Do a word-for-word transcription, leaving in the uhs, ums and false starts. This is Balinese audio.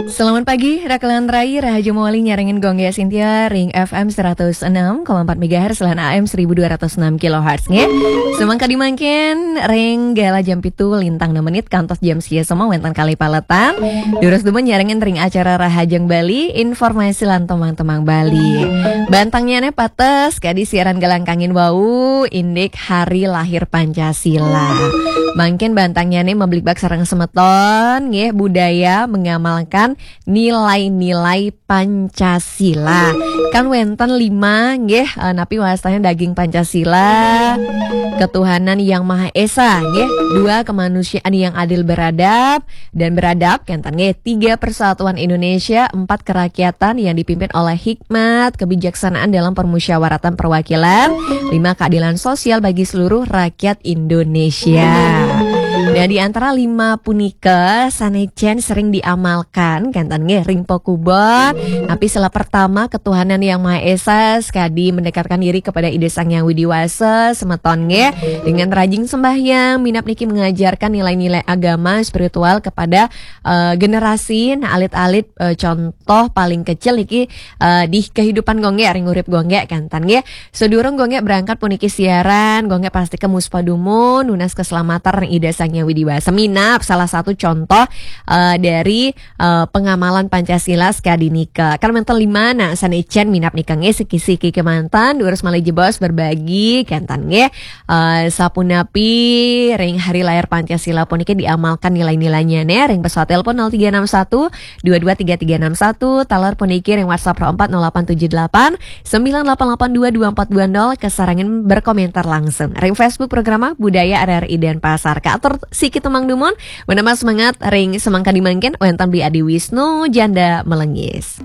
Selamat pagi, Rakelan Rai, Rahaja Mawali nyarengin Gongge Sintia, ring F M seratus enam koma empat megahertz, lan A M seribu dua ratus enam kilohertz, nggih. Semangkadi mangkin, ring galah jam pitu lintang enam menit, kantos jam sia semua wenten kalih paletan. Durus dumun nyarengin ring acara Rahajeng Bali, informasi lan temang-temang Bali. Bantangnyane pates, kadi siaran Galang Kangin wau, indik Hari Lahir Pancasila. Mangkin bantangnyane mabligbagan sareng semeton, nggih, budaya mengamalkan nilai-nilai Pancasila. Kan wenten lima, nggih, eh, napi wastane daging Pancasila, ketuhanan yang Maha Esa, nggih, dua, kemanusiaan yang adil beradab dan beradab, kenten, nggih, tiga, persatuan Indonesia, empat, kerakyatan yang dipimpin oleh hikmat, kebijaksanaan dalam permusyawaratan perwakilan, lima, keadilan sosial bagi seluruh rakyat Indonesia. Nah, di antara lima punika sane jen sering diamalkan, kenten, nggih, ring pakubon. Napi sila pertama, ketuhanan yang Maha Esa, sekadi mendekatkan diri kepada Ida Sang Hyang Widi Wasa, semeton, nggih, dengan rajin sembahyang, minab niki mengajarkan nilai-nilai agama spiritual kepada, eh, generasi, nah, alit-alit, eh, contoh paling kecil niki, eh, di kehidupan Gongge, ring urip Gongge, kenten, nggih. Sedurung Gongge berangkat puniki siaran, Gongge pasti ke muspa dumun, nunas keselamatan ring Ida Sang Hyang Widi Wasa. Minab salah satu contoh, eh, dari, eh, pengamalan Pancasila sekadi nika. Kan manten lima, nah, sane jen minab nika, nggih, siki-siki kemanten, durus malih jebos berbagi, kenten, nggih. Eh, sapunapi ring Hari Lahir Pancasila puniki diamalkan nilai-nilainya, ne, ring pesawat telepon nol tiga enam satu dua dua tiga tiga enam satu, taler puniki ring WhatsApp nol empat nol delapan tujuh delapan sembilan delapan delapan dua dua empat dua nol, kasarengin berkomentar langsung. Ring Facebook programa Budaya R R I Denpasar. Kaatur siki temang dumun, menambah semangat ring semangkadi mangkin, wenten Bli Adi Wisnu, Janda Melenggis.